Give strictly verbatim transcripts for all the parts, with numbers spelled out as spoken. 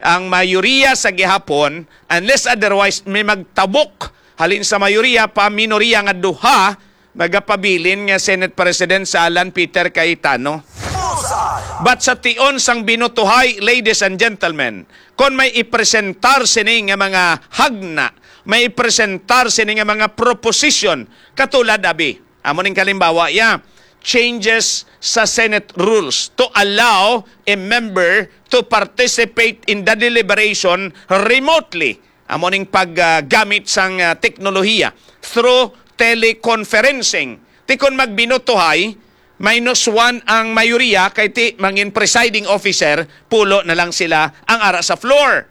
Ang mayoriya sa gihapon, unless otherwise may magtabok halin sa mayoriya pa, minoriya nga duha, magapabilin nga Senate President sa Alan Peter Cayetano. But sa tion sang binotohay, ladies and gentlemen, kon may ipresentar sini nga mga hagna, may ipresentar sini nga mga proposition, katulad abi, amo ning kalimbawa ya, changes sa Senate rules to allow a member to participate in the deliberation remotely. Amo ning paggamit sang ah, teknolohiya through teleconferencing. Ti kon magbinotohay, minus one ang mayoriya, kay ti mangin presiding officer, pulo na lang sila ang ara sa floor.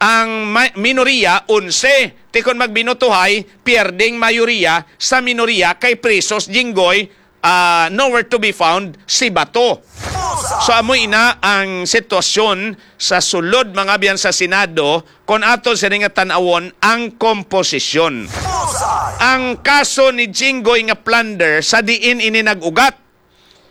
Ang ma- minoriya, onse. Ti kon magbinotohay, pierding mayoriya sa minoriya, kay presos Jinggoy, ah, nowhere to be found si Bato. So, amo ina ang sitwasyon sa sulod, mga abyan, sa Senado, kon ato sini nga tan-awon ang komposisyon. Ang kaso ni Jinggoy nga plunder, sa diin ini nag-ugat?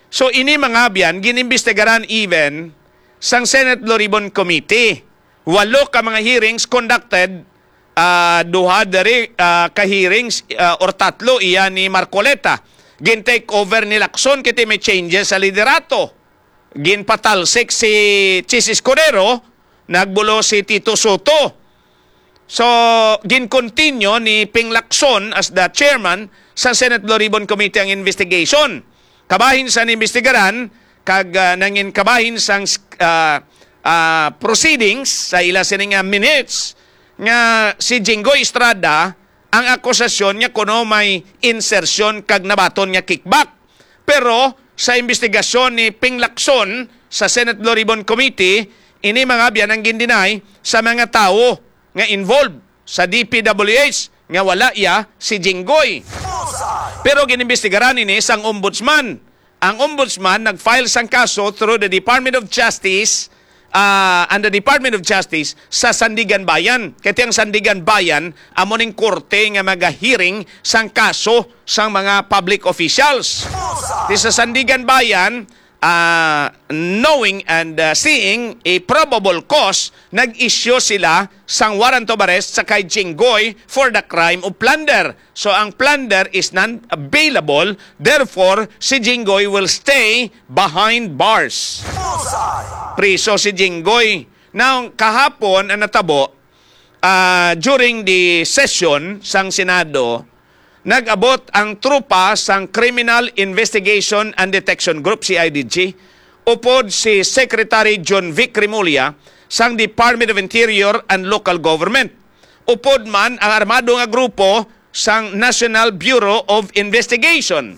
So, ini, mga abyan, ginimbestigaran even sang Senate Blue Ribbon Committee. Walo ka mga hearings conducted, ah, duha diri, ah, ka hearings, ah, or tatlo iya ni Marcoleta. Gin-take over ni Lacson, kay ti may changes sa liderato. Ginpatalsik si Chiz Escudero, nagbulo si Tito Soto. So, gin-continue ni Ping Lacson as the chairman sa Senate Blue Ribbon Committee ang investigation. Kabahin sa niimbestigaran kag ah, nangin kabahin sang ah, ah, proceedings sa ila sini nga minutes nga si Jinggoy Estrada, ang akusasyon niya kuno may insertion kag nabaton nga kickback. Pero sa imbestigasyon ni Ping Lacson sa Senate Blue Ribbon Committee, ini, mga abyan, ang gindinay sa mga tawo nga involved sa D P W H nga wala iya si Jinggoy. Pero ginimbestigaran ini sang ombudsman. Ang ombudsman nag-file sang kaso through the Department of Justice, ah, and the Department of Justice sa Sandiganbayan. Kay ti ang Sandiganbayan amo ning korte nga maga-hearing sang kaso sang mga public officials. Ti sa Sandiganbayan, ah, knowing and ah, seeing a probable cause, nag-issue sila sang warrant of arrest sa kay Jinggoy for the crime of plunder. So, ang plunder is non-bailable, therefore, si Jinggoy will stay behind bars. Priso si Jinggoy. Now, kahapon ang natabo, ah, during the session sang Senado, nag-abot ang tropa sang Criminal Investigation and Detection Group, C I D G, upod si Secretary John Vic Remulla sang Department of Interior and Local Government. Upod man ang armado nga grupo sang National Bureau of Investigation.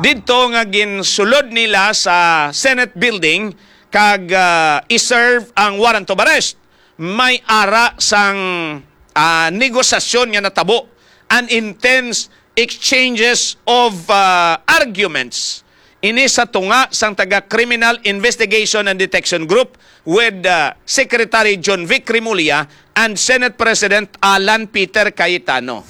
Didto nga ginsulod nila sa Senate building kag ah, i-serve ang warrant of arrest. May ara sang ah, negosasyon nga natabo, an intense exchanges of ah, arguments. Ini sa tunga sang taga Criminal Investigation and Detection Group with ah, Secretary John Vic Remulla and Senate President Alan Peter Cayetano.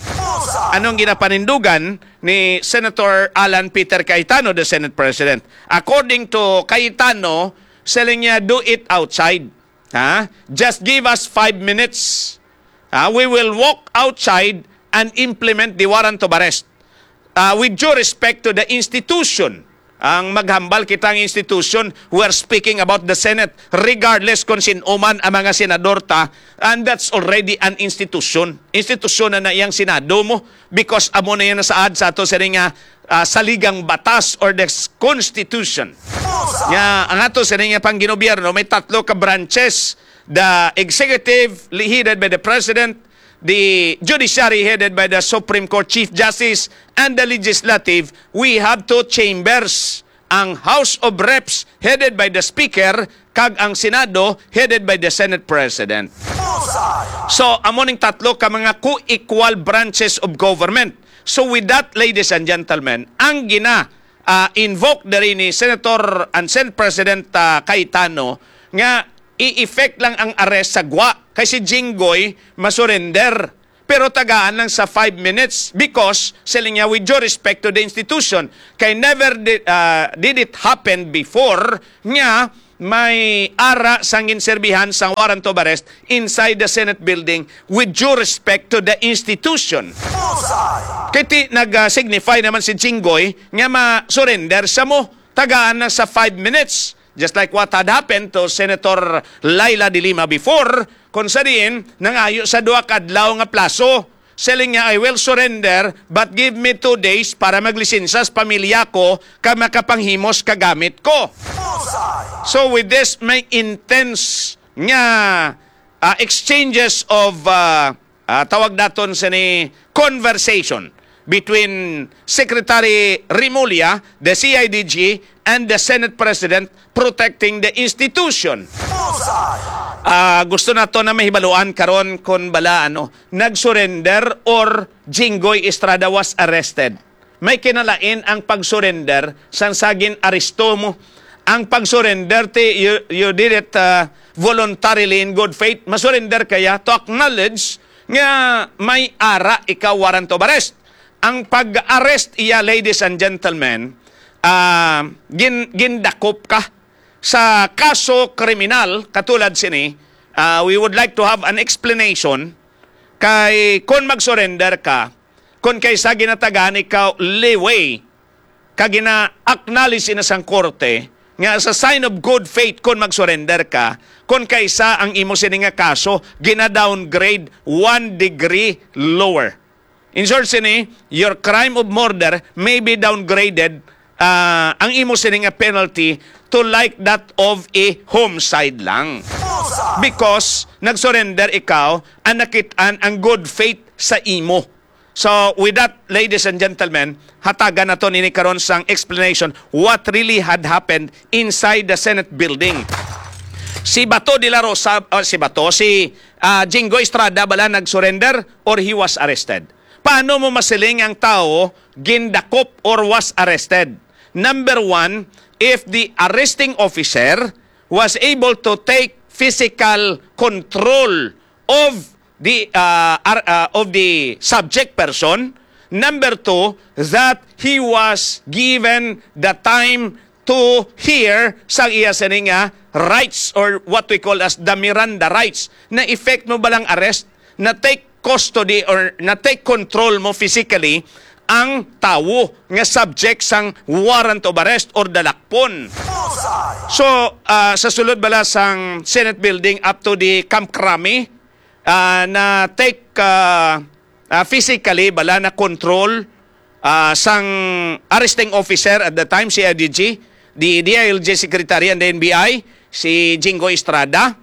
Anong ginapanindugan ni Senator Alan Peter Cayetano, the Senate President? According to Cayetano, siling niya, "Do it outside. Ha? Just give us five minutes. Ha? We will walk outside and implement the warrant of arrest." Ah, with due respect to the institution, ang maghambal kita ang institution, we are speaking about the Senate, regardless kung sin-o man ang mga senador ta, and that's already an institution. Institusyon na na iyang Senado mo, because amo na yan nasaad sa ato sa nga ah, saligang batas or the s- Constitution. Nga ang ato sa nga pangginobierno may tatlo ka branches, the executive, li- headed by the President, the judiciary, headed by the Supreme Court Chief Justice, and the legislative. We have two chambers, ang House of Reps, headed by the Speaker, kag ang Senado, headed by the Senate President. So, amo ning tatlo ka mga co-equal branches of government. So, with that, ladies and gentlemen, ang gina ah, invoke diri ni Senator and Senate President ah, Cayetano nga i-effect lang ang arrest sa gwa kay si Jinggoy masurrender. Pero tagaan lang sa five minutes because, siling niya, with due respect to the institution, kay never did, ah, did it happen before nga may ara sang ginserbihan sang warrant of arrest inside the Senate building with due respect to the institution. Bullseye! Kay ti nag-signify naman si Jinggoy nga ma-surrender sa mo tagaan na sa five minutes. Just like what had happened to Senator Leila de Lima before, kung sa diin nangayo sa duha ka adlaw nga plaso. Siling niya, "I will surrender, but give me two days para maglisensya sa pamilya ko kag makapanghimos ka gamit ko." Bullseye! So with this, may intense nga ah, exchanges of ah, ah, tawag naton sini conversation between Secretary Remulla, the C I D G, and the Senate President protecting the institution. Bullseye! Ah, gusto nato na mahibaluan karon kung bala ano, nag-surrender or Jinggoy Estrada was arrested. May kinalain ang pag-surrender sang sa gin-aresto mo. Ang pag-surrender, ti, you, you did it uh, voluntarily in good faith. Masurrender kaya to acknowledge nga may ara ikaw warrant of arrest. Ang pag-arrest iya, ladies and gentlemen, ah, gin, gindakop ka sa kaso kriminal katulad sini. Ah, we would like to have an explanation kay kon mag-surrender ka, kon kaysa ginatagaan ikaw leeway, kag gina-acknowledge ina sang korte nga sa sign of good faith kon mag-surrender ka, kon kaysa ang imo sini nga kaso gina-downgrade one degree lower. In short sini, your crime of murder may be downgraded, ah, ang imo sini nga penalty to like that of a homicide lang. Because nag-surrender ikaw, ang nakit-an ang good faith sa imo. So, with that, ladies and gentlemen, hatagan naton ini karon sang explanation what really had happened inside the Senate building. Si Bato de la Rosa, ah, si Bato, si ah, Jinggoy Estrada bala nag-surrender or he was arrested? Paano mo masiling ang tawo gindakop or was arrested? Number one, if the arresting officer was able to take physical control of the uh, ar- uh, of the subject person. Number two, that he was given the time to hear sa iya sini nga rights or what we call as the Miranda rights. Na-effect mo ba lang arrest? Na-take custody or na-take control mo physically ang tawo nga subject sang warrant of arrest or dalakpon? So, ah, sa sulod bala sang Senate building up to the Camp Crame, ah, na-take, ah, ah, physically bala na control, ah, sang arresting officer at the time, C I D G, the D I L G secretary and the N B I, si Jinggoy Estrada.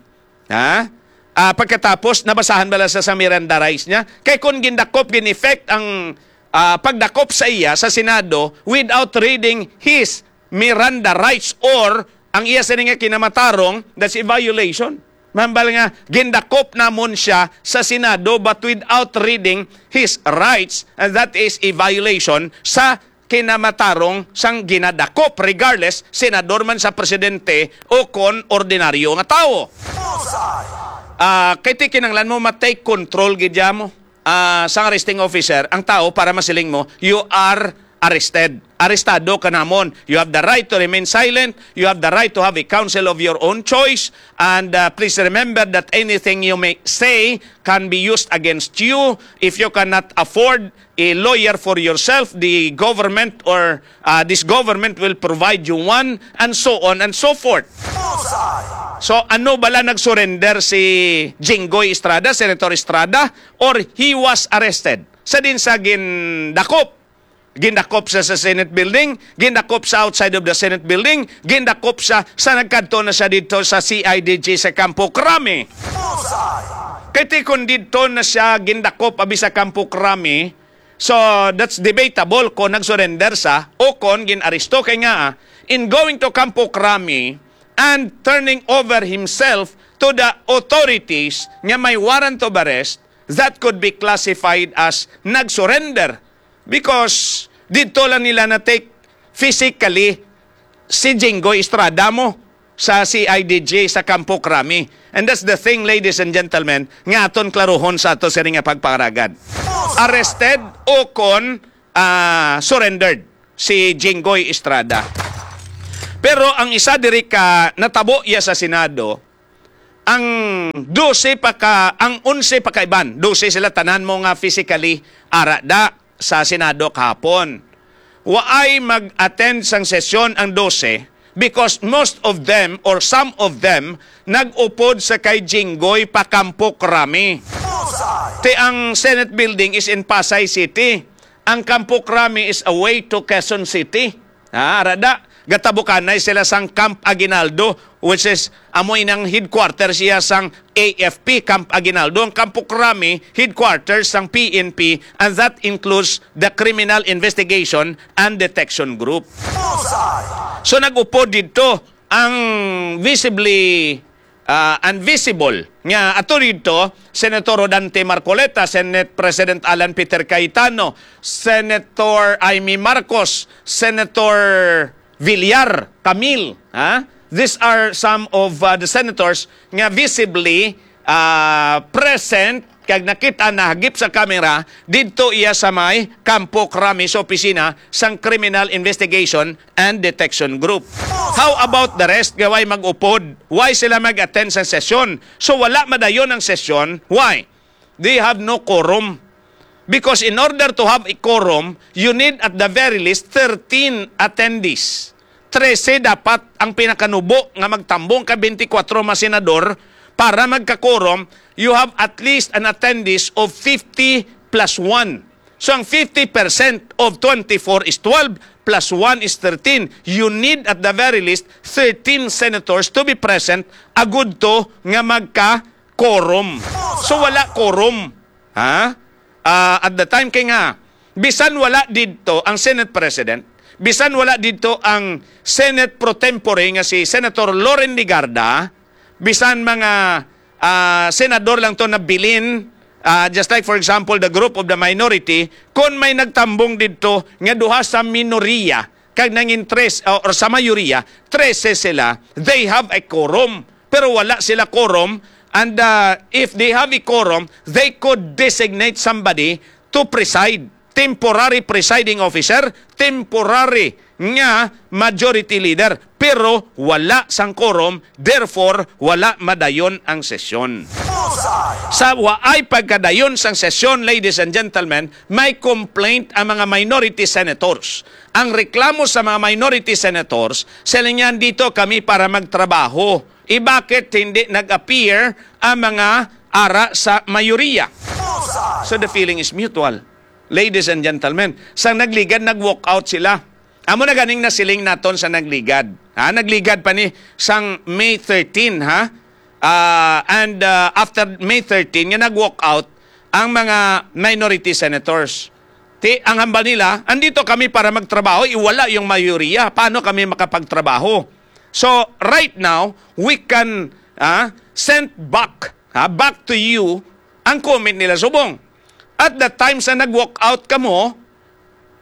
Ha? Ah, pagkatapos, nabasahan bala sa, sa Miranda rights niya. Kay kung gindakop, gin-effect ang ah, pagdakop sa iya sa Senado without reading his Miranda rights or ang iya sini nga kinamatarong, that's a violation. Mahambal nga gindakop namon siya sa Senado but without reading his rights, and that is a violation sa kinamatarong sang ginadakop, regardless senador man sa presidente o kon ordinaryo nga tawo. Ah, kay ti kinahanglan mo ma-take control gid mo ah, sang arresting officer ang tao para masiling mo, "You are arrested. Arestado ka namon. You have the right to remain silent. You have the right to have a counsel of your own choice. And ah, please remember that anything you may say can be used against you. If you cannot afford a lawyer for yourself, the government or ah, this government will provide you one," and so on and so forth. So, ano bala nag-surrender si Jinggoy Estrada, Senator Estrada, or he was arrested? Sa din sa gindakop, gindakop sa, sa Senate building, gindakop sa outside of the Senate building, gindakop sa, sa nagkadto na siya dito sa C I D G sa Campo Crame. Kay ti kon didto na siya gindakop abi sa Campo Crame, so that's debatable kon nag-surrender sa o kon gin-aresto. Kay nga, in going to Campo Crame and turning over himself to the authorities nga may warrant of arrest, that could be classified as nag-surrender because didto lang nila na-take physically si Jinggoy Estrada mo sa C I D G sa Campo Crame. And that's the thing, ladies and gentlemen, nga aton klaruhon sa ato sini nga pagpangaragad. Arrested o kon ah, surrendered si Jinggoy Estrada. Pero ang isa diri ka natabo iya sa Senado, ang dose pa ka, ang onse pa ka iban, dose sila tanan mo nga physically ara da sa Senado kahapon. Waay mag-attend sang sesyon ang dose because most of them or some of them nag-upod sa kay Jinggoy pa Kampo Krami. Ti ang Senate building is in Pasay City. Ang Kampo Krami is away to Quezon City. Ha, ara da, gatabukanay sila sang Camp Aguinaldo, which is amo inang headquarters siya sang A F P, Camp Aguinaldo. Ang Kampo Krami, headquarters sang P N P, and that includes the Criminal Investigation and Detection Group. So nag-upod didto ang visibly, ah, and visible nga ato didto, Senator Rodante Marcoleta, Senate President Alan Peter Cayetano, Senator Imee Marcos, Senator Villar, Camille, ha? These are some of, uh, the senators nga visibly, ah, present kag nakita nahagip sa kamera didto iya sa may Kampo Krami sa opisina sang Criminal Investigation and Detection Group. How about the rest nga way mag-upod? Why sila mag-attend sa sesyon? So wala madayon ang sesyon. Why? They have no quorum. Because in order to have a quorum, you need at the very least thirteen attendees. Trese dapat ang pinakanubo nga magtambong ka twenty-four mga senador para magka-quorum, you have at least an attendees of fifty plus one. So ang fifty percent of twenty-four is twelve, plus one is thirteen. You need at the very least thirteen senators to be present agud to nga magka-quorum. So wala quorum. Ha? Ah, at the time kay nga, bisan wala didto ang Senate President, bisan wala didto ang Senate pro tempore nga si Senator Loren Legarda, bisan mga, ah, senador lang to nabilin, ah, just like for example the group of the minority, kon may nagtambong didto nga duha sa minoriya kag nangin tres, uh, or sa mayoriya, trese sila, they have a quorum. Pero wala sila quorum, and, uh, if they have a quorum, they could designate somebody to preside, temporary presiding officer, temporary nga majority leader, pero wala sang quorum, therefore wala madayon ang sesyon. Sa waay pagkadayon sang sesyon, ladies and gentlemen, may complaint ang mga minority senators. Ang reklamo sa mga minority senators, sila niyan, "Dito kami para magtrabaho. E, bakit hindi nag-appear ang mga ara sa mayoriya?" So the feeling is mutual. Ladies and gentlemen, sang nagligad, nag-walk out sila. Amo na ganing nasiling naton sa nagligad. Ha, nagligad pa ni sang May thirteen, ha? Ah, and, ah, after May thirteen, nga nag-walk out ang mga minority senators. Ti, ang hambal nila, "Andito kami para magtrabaho, iwala yung mayoriya. Paano kami makapagtrabaho?" So, right now, we can, ah, send back, ha, back to you ang comment nila subong. At the time sa nag-walk out kamo,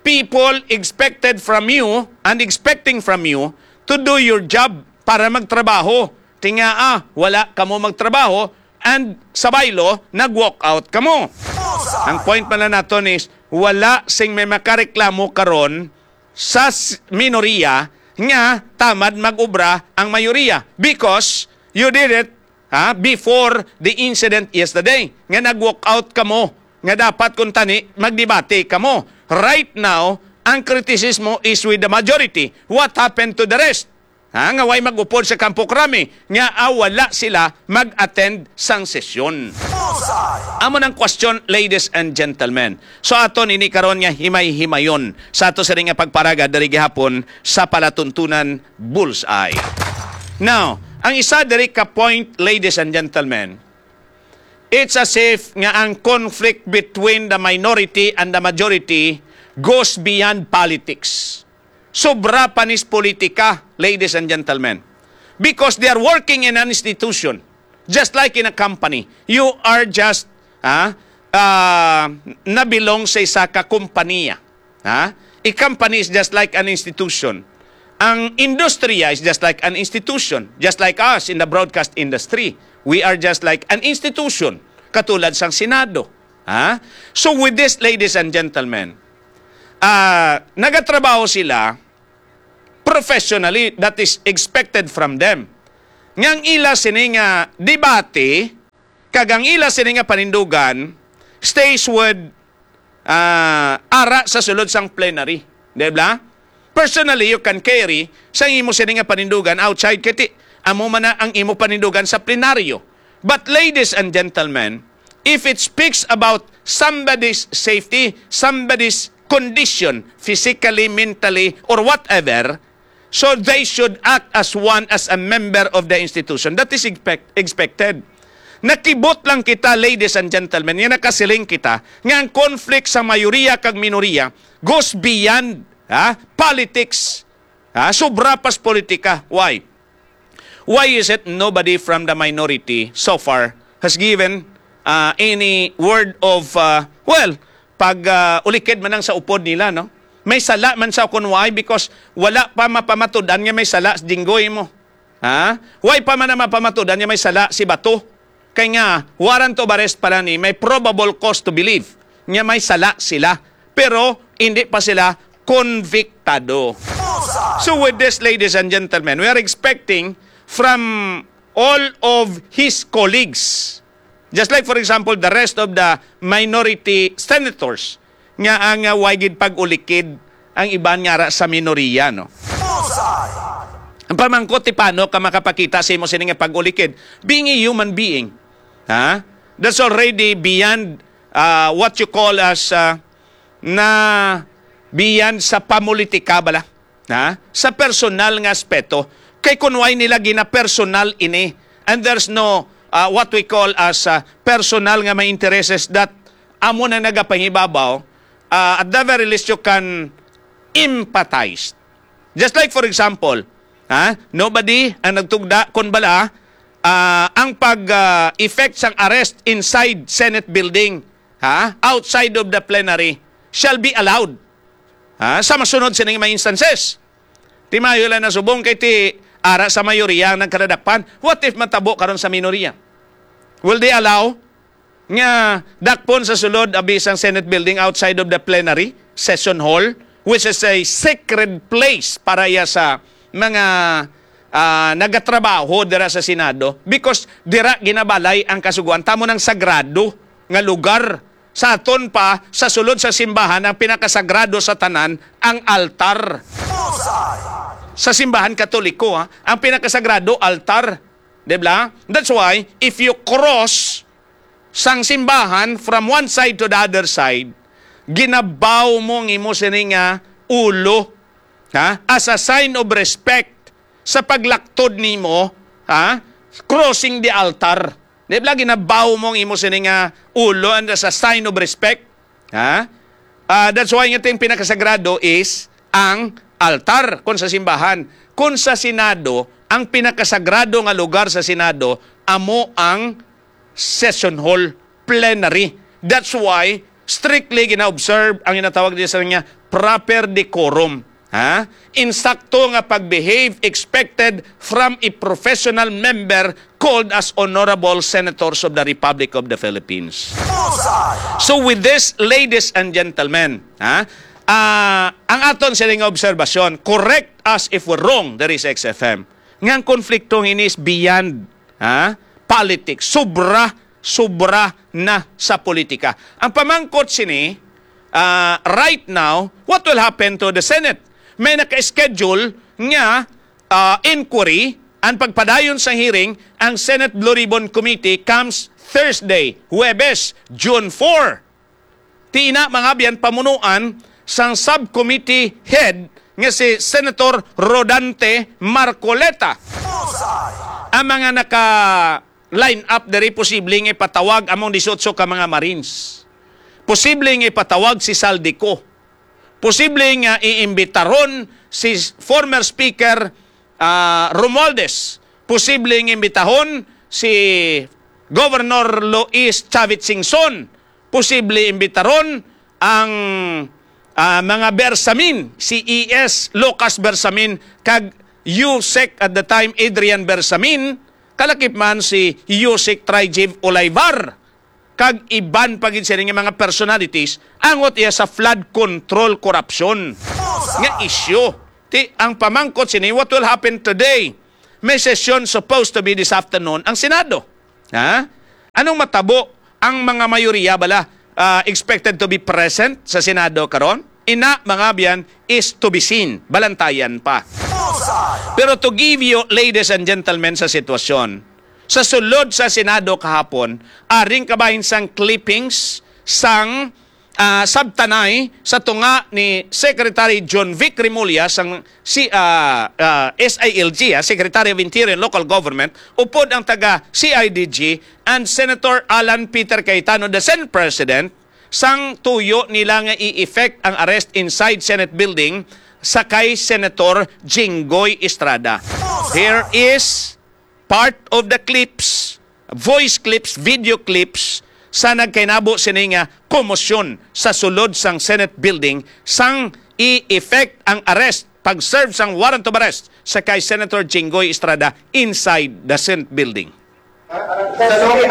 people expected from you and expecting from you to do your job para magtrabaho. Ti nga, ah, wala kamo magtrabaho and sa baylo, nag-walk out kamo. Ang point man lang naton is, wala sing may makareklamo karon sa s-, minoriya nga tamad mag-obra ang mayoriya because you did it, ha, before the incident yesterday, nga nag-walk out kamo, nga dapat kuntani magdebate kamo. Right now, ang kritisismo is with the majority. What happened to the rest? Ha, nga way mag-upod sa Kampo Krami, nga, ah, wala sila mag-attend sang sesyon. Amo nang question, ladies and gentlemen. So, aton ini karon nga himay-himayon sa ato sini nga pagparaga diri gihapon sa Palatuntunan Bullseye. Now, ang isa diri ka point, ladies and gentlemen, it's as if nga ang conflict between the minority and the majority goes beyond politics. Sobra pa nis politika, ladies and gentlemen. Because they are working in an institution, just like in a company. You are just, ah, ah, nabilong sa isa ka kompanya. Ha? A company is just like an institution. Ang industriya is just like an institution, just like us in the broadcast industry. We are just like an institution, katulad sang Senado. Ha? So with this, ladies and gentlemen, ah, nagatrabaho sila professionally, that is expected from them. Nga ang ila sini nga debate, kag ang ila sini nga panindugan, stays with, ah, ara sa sulod sang plenary. Di ba? Personally, you can carry sa imo sini nga panindugan outside, kay ti-, amo man na ang imo panindugan sa plenaryo. But ladies and gentlemen, if it speaks about somebody's safety, somebody's condition, physically, mentally, or whatever, so they should act as one, as a member of the institution. That is expect-, expected. Nakibot lang kita, ladies and gentlemen, nga nakasiling kita nga ang conflict sa mayoriya kag minoriya goes beyond, ha, politics. Ha, sobra pas politika. Why? Why is it nobody from the minority so far has given, uh, any word of, uh, well, pag, uh, ulikid man ang sa upod nila, no? May sala man sa kun why, because wala pa mapamatudan nga may sala si Jinggoy mo. Ha? Why pa man na mapamatudan nga may sala si Bato? Kay nga, warrant of arrest pala ni, may probable cause to believe nga may sala sila. Pero hindi pa sila konbiktado. So with this, ladies and gentlemen, we are expecting from all of his colleagues, just like, for example, the rest of the minority senators, nga ang, uh, way gid pag-ulikid ang iban nga ara sa minoriya, no? Ang pamangkot, ti paano ka makapakita sa imo sini nga pag-ulikid? Being a human being, ha? That's already beyond, uh, what you call as, uh, na beyond sa pamulitika bala, ha? Sa personal nga aspeto. Kay kun way nila gina-personal ini, and there's no, uh, what we call as, uh, personal nga may intereses that amo na nagapangibabaw, uh, at the very least you can empathize. Just like, for example, ha, nobody ang nagtugda kun bala, ah, ang pag, ah, effect sang arrest inside Senate building, ha, outside of the plenary, shall be allowed, ha, sa masunod sining mga instances. Ti maayo lang na subong kay ti ara sa mayoriya ang nagkadadakpan. What if matabo karon sa minoriya? Will they allow nga dakpon sa sulod abi sang Senate building outside of the plenary session hall, which is a sacred place para iya sa mga, ah, nagatrabaho dira sa Senado, because dira ginabalay ang Kasugoan. Tamo nang sagrado nga lugar sa aton pa, sa sulod sa simbahan, ang pinakasagrado sa tanan, ang altar. Sa simbahan Katoliko, ha, ang pinakasagrado, altar. Di ba? That's why, if you cross sang simbahan from one side to the other side, ginabaw mo ang imo sini nga ulo, ha? As a sign of respect sa paglaktod nimo, ha? Crossing the altar. Di ba, ginabaw mo ang imo sini nga ulo, and as a sign of respect, ha? Ah, that's why nga ting pinakasagrado is ang altar kon sa simbahan. Kon sa Senado, ang pinakasagrado nga lugar sa Senado amo ang session hall, plenary. That's why strictly gina-observe ang ginatawag diri sa nga proper decorum. Ha? Insakto nga pag-behave expected from a professional member called as honorable senators of the Republic of the Philippines. So with this, ladies and gentlemen, ha? Ah, ang aton sini nga obserbasyon, correct us if we're wrong, there is X F M. Nga ang konflikto ini is beyond, ha? Politics. Sobra, sobra na sa politika. Ang pamangkot sini, ah, right now, what will happen to the Senate? May naka-schedule nga, ah, inquiry, ang pagpadayon sa hearing, ang Senate Blue Ribbon Committee comes Thursday, Huwebes, June four. Ti ina, mga abyan, pamunuan sang subcommittee head nga si Senator Rodante Marcoleta. Ang mga naka-line up diri, posible nga ipatawag among disiotso ka mga Marines. Posible nga ipatawag si Zaldy Co. Posible nga iimbitaron si former Speaker, ah, Romualdez. Posible nga imbitahon si Governor Lois Chavit Singson. Posible imbitaron ang, ah, mga Bersamin, si E S Lucas Bersamin kag Usec at the time, Adrian Bersamin, kalakip man si Usec Trijib Olayvar, kag iban pa gid sini nga mga personalities, angot iya sa flood control corruption nga issue. Ti, ang pamangkot sini, what will happen today? May session supposed to be this afternoon ang Senado. Ha? Anong matabo? Ang mga mayoriya bala, ah, expected to be present sa Senado karon? Ina, mga abyan, is to be seen. Balantayan pa. Pero to give you, ladies and gentlemen, sa sitwasyon, sa sulod sa Senado kahapon, aring kabahin sang clippings sang ah, sabtanay sa tunga ni Secretary John Vic Remulla sang si, ah, ah, S I L G, ah, Secretary of Interior and Local Government, upod ang taga C I D G, and Senator Alan Peter Cayetano, the Senate President, sang tuyo nila nga i-effect ang arrest inside Senate building sa kay Senator Jinggoy Estrada. Here is part of the clips, voice clips, video clips sa nagkainabo sini nga komosyon sa sulod sang Senate building sang i-effect ang arrest, pag-serve sang warrant of arrest sa kay Senator Jinggoy Estrada inside the Senate building. The law will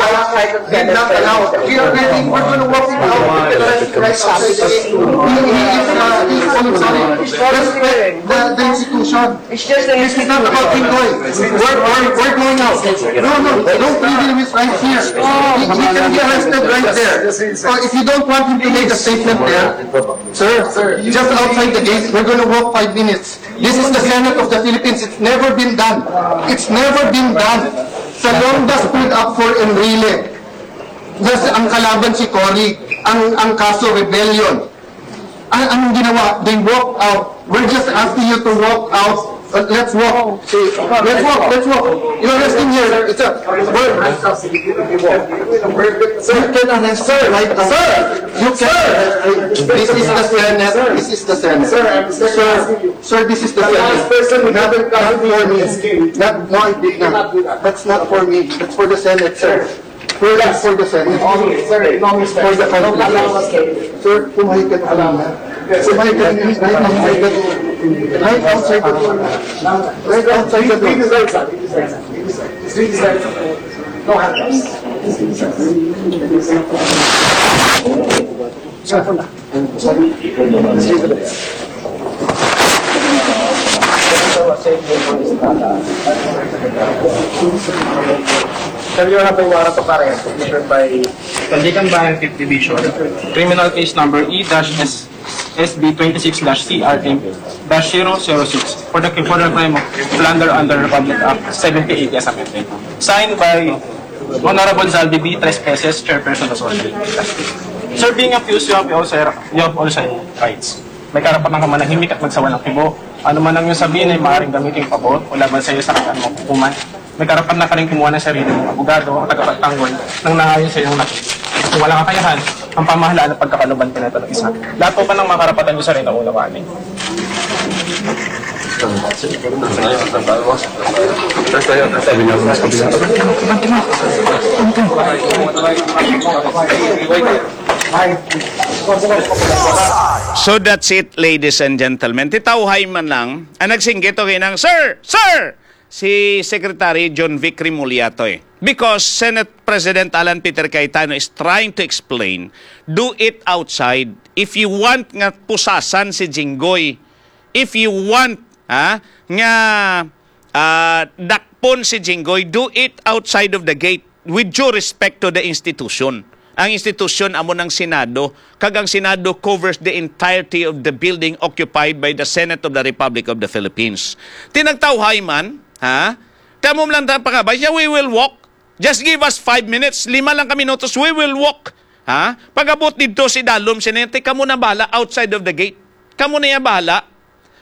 not allow. We are ready. We're gonna walk it out. He, he is, uh, he is, oh, sorry. Respect the, the institution. It's just the This is not about Jinggoy. We're, we're, we're going out. No, no, don't leave him. He's right here. He, he can be arrested right there. So if you don't want him to make a statement there, sir, just outside the gate, we're gonna walk five minutes. This is the Senate of the Philippines. It's never been done. It's never been done. Salonga stood up for Enrile. Just ang kalaban si Cory, ang, ang kaso rebellion. Ang, ang ginawa, they walk out. We're just asking you to walk out. Uh, let's walk. Let's walk. Let's walk. You're arresting here. It's a, we're, you can arrest her right now. Sir! You can arrest her. This is the Senate. This is the Senate. Sir, I'm, sir, sir, this is the Senate. Not, not for me. Not, no, I did not. That's not for me. That's for the Senate, sir. We're not for the Senate. Sir, no, Mister For the country. Sir, kumain ka na kanina. Kumain ka na kanina. Right outside the door. Right outside the door. Right outside the door. No handcuffs. Sir, you have a warrant of arrest issued by Tandikan Bayan Fifth Division, criminal case number E dash S B twenty-six dash C R M dash zero zero six for the, for the crime of plunder under Republic Act seventy eighty as amended. Signed by Honorable Zaldy B. Tres Peces, Chairperson of Social Justice. Sir, being accused, you have also, you have also rights. May karapatan ka manahimik at magsawa ng kibo. Ano man ang iyong sabihin ay maaaring gamitin pabor o laban sa iyo sa kung anumang hukuman. May karapatan ka rin kumuha ng sarili mong abogado o tagapagtanggol nang naayon sa iyong nakita. Kung walang kakayahan, ang pamahalaan at pagkakaluban ka nito ng isa. Lahat po ba ng mga karapatan niyo, sir, ay naunawaan ninyo? So that's it, ladies and gentlemen. Titawhay man lang, ang nagsinggit, okay nang, "Sir! Sir!" Si Secretary John Vic Remulla to eh. Because Senate President Alan Peter Cayetano is trying to explain, do it outside. If you want nga pusasan si Jinggoy, if you want, ha, nga, ah, dakpon si Jinggoy, do it outside of the gate, with due respect to the institution. Ang institusyon amo ng Senado, kag ang Senado covers the entirety of the building occupied by the Senate of the Republic of the Philippines. Tinagtawhay man, ha? Kamo lang ta pangabay siya, "We will walk. Just give us five minutes, lima lang ka minutos, we will walk." Ha? Pag-abot dito si Dalom, sinente, "Kamo na bala outside of the gate. Kamo na ya bala."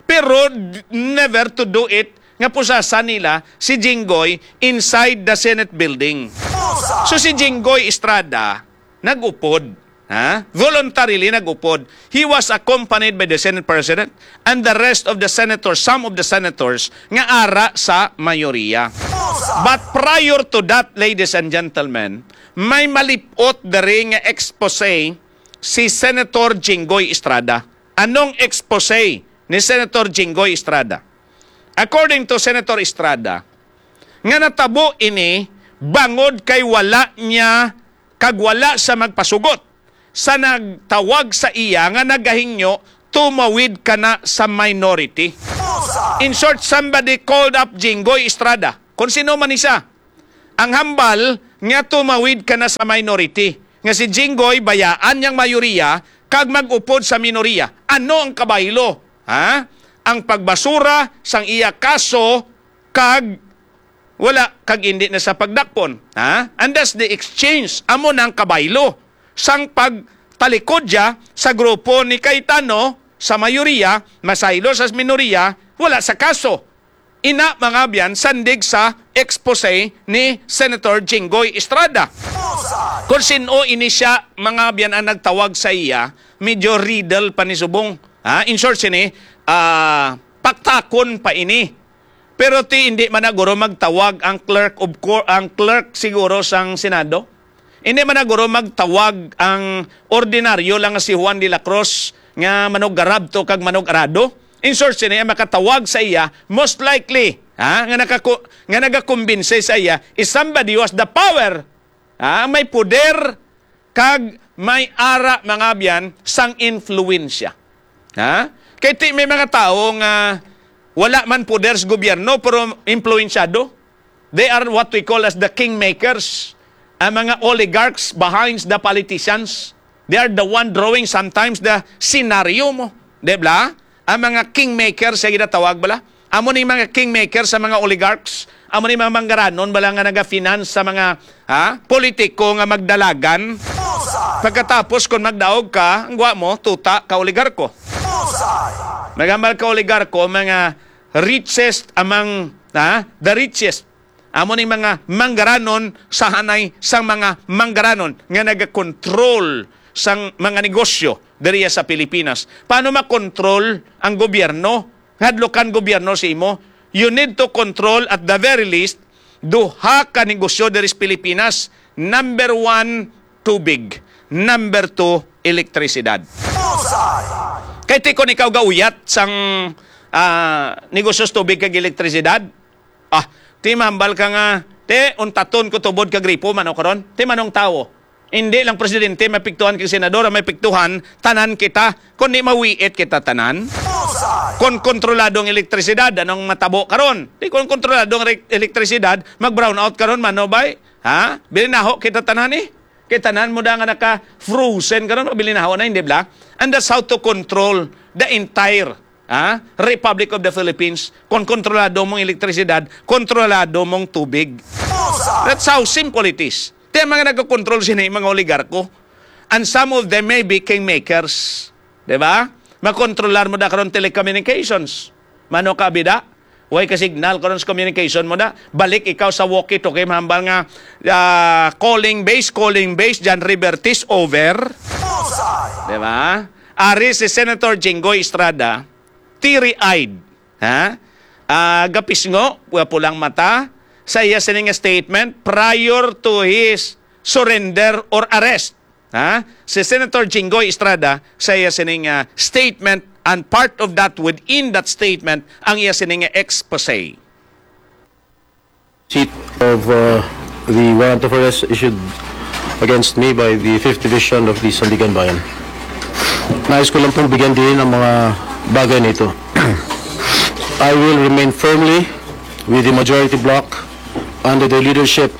Pero d-, never to do it nga pusasan nila si Jinggoy inside the Senate building. So si Jinggoy Estrada nag-upod, ha? Voluntarily nag-upod. He was accompanied by the Senate President and the rest of the senators, some of the senators nga ara sa mayoriya. But prior to that, ladies and gentlemen, may malipot diri nga expose si Senator Jinggoy Estrada. Anong expose ni Senator Jinggoy Estrada? According to Senator Estrada, nga natabo ini bangod kay wala niya kag wala siya magpasugot sa nagtawag sa iya nga nagahingyo tumawid kana sa minority. In short, somebody called up Jinggoy Estrada. Kung sino man isa. Ang hambal nga tumawid ka na sa minority. Nga si Jinggoy bayaan niyang mayoriya kag mag-upod sa minoriya. Ano ang kabaylo? Ha? Ang pagbasura sang iya kaso kag wala kag indi na sa pagdakpon. Ha? And that's the exchange. Amo na ang kabaylo sang pagtalikod siya sa grupo ni Cayetano sa mayoriya, masaylo sa minoriya, wala sa kaso. Ina, mga abyan, sandig sa expose ni Senator Jinggoy Estrada. Kung sin-o ini siya, mga abyan, ang nagtawag sa iya, medyo riddle pa ni subong. Ha? In short, sini, ah, paktakon pa ini. Pero ti, hindi man na guro magtawag ang clerk of cour-, ang clerk siguro sang Senado. Hindi man na guro magtawag ang ordinaryo lang nga si Juan de la Cruz nga manugarab to kag manugarado. In short, sini ang makatawag sa iya, most likely, ha, nga nakaku-, nga nagakumbinse sa iya is somebody who has the power, ha, may poder kag may ara, mga abyan, sang influensya. Ha? Kay ti may mga tawo nga wala man poder sa gobyerno pero impluwensyado. They are what we call as the kingmakers. Ang mga oligarchs behind the politicians. They are the one drawing sometimes the scenario mo. Di ba? Ang mga kingmakers, siya ginatawag bala. Amo ni mga kingmakers sa mga oligarchs. Amo ni mga manggaranon bala nga naga-finance sa mga, ha, politiko nga magdalagan. Pagkatapos, kung magdaog ka, ang gwa mo, tuta ka oligarko. Nagambal ka oligarko, mga richest among, ha, the richest. Amo ning mga manggaranon sa hanay sang mga manggaranon nga nagakontrol sang mga negosyo diriya sa Pilipinas. Paano makontrol ang gobyerno? Hadlukan gobyerno sa imo. You need to control at the very least duha ka negosyo diri sa Pilipinas. Number one, tubig. Number two, elektrisidad. Kay ti kon ikaw gauyat sang, ah, negosyo sa tubig kag elektrisidad, ah, ti mahambal ka nga, ti, untaton ko tubod kag gripo, mano karon? Ti manong tawo. Hindi lang presidente may piktuhan kag senador ang may piktuhan, tanan kita. Kon di mawiit kita tanan. Kon kontrolado ang elektrisidad, anong matabo karon? Di kon kontrolado ang re-, elektrisidad, mag-brownout karon, mano bay? Ha? Bilinaho kita tanan eh. Kay tanan mo da nga naka-frozen karon, mabilinaho na, hindi bala? And that's how to control the entire, ha, Republic of the Philippines. Kung kontrolado mong elektrisidad, kontrolado mong tubig. That's how simple it is. Ti ang mga nagakontrol sini, mga oligarko. And some of them may be kingmakers. Di ba? Makontrolar mo da karon telecommunications. Mano ka bida? Way ka signal karon sa communication mo da. Balik ikaw sa walkie-talkie, mahambal nga, ah, calling base, calling base, John Rivertis, over. Di ba? Ari si Senator Jinggoy Estrada, teary-eyed, ha? Ah, gapisngo, wa pulang mata, sa iya sini nga statement prior to his surrender or arrest. Ha? Si Senator Jinggoy Estrada sa iya sining, ah, statement, and part of that, within that statement, ang iya sining expose. Seat of, uh, the warrant of arrest issued against me by the Fifth Division of the Sandiganbayan. Nais ko lang pong bigyan din ang mga bagay na ito. I will remain firmly with the majority bloc under the leadership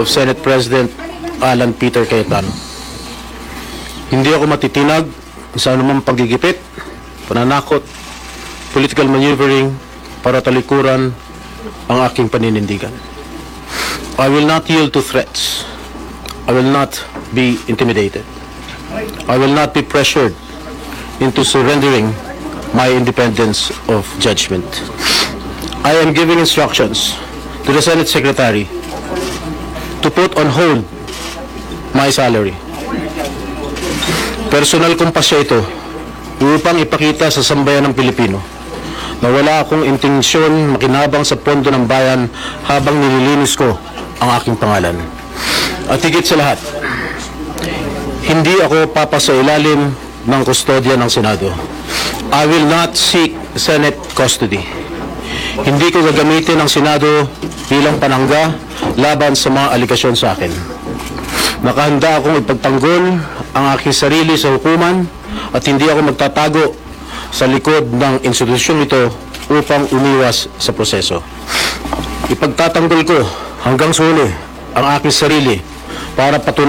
of Senate President Alan Peter Cayetano. Hindi ako matitinag sa anumang panggigipit, pananakot, political maneuvering para talikuran ang aking paninindigan. I will not yield to threats. I will not be intimidated. I will not be pressured into surrendering my independence of judgment. I am giving instructions to the Senate Secretary to put on hold my salary. Personal kong pasya ito upang ipakita sa sambayan ng Pilipino na wala akong intensyon makinabang sa pondo ng bayan habang nililinis ko ang aking pangalan. At higit sa lahat, hindi ako papasailalim ng kustodya ng Senado. I will not seek Senate custody. Hindi ko gagamitin ang Senado bilang panangga laban sa mga alegasyon sa akin. Nakahanda akong ipagtanggol ang aking sarili sa hukuman at hindi ako magtatago sa likod ng institusyong ito upang umiwas sa proseso. Ipagtatanggol ko hanggang sa huli ang aking sarili para patunayan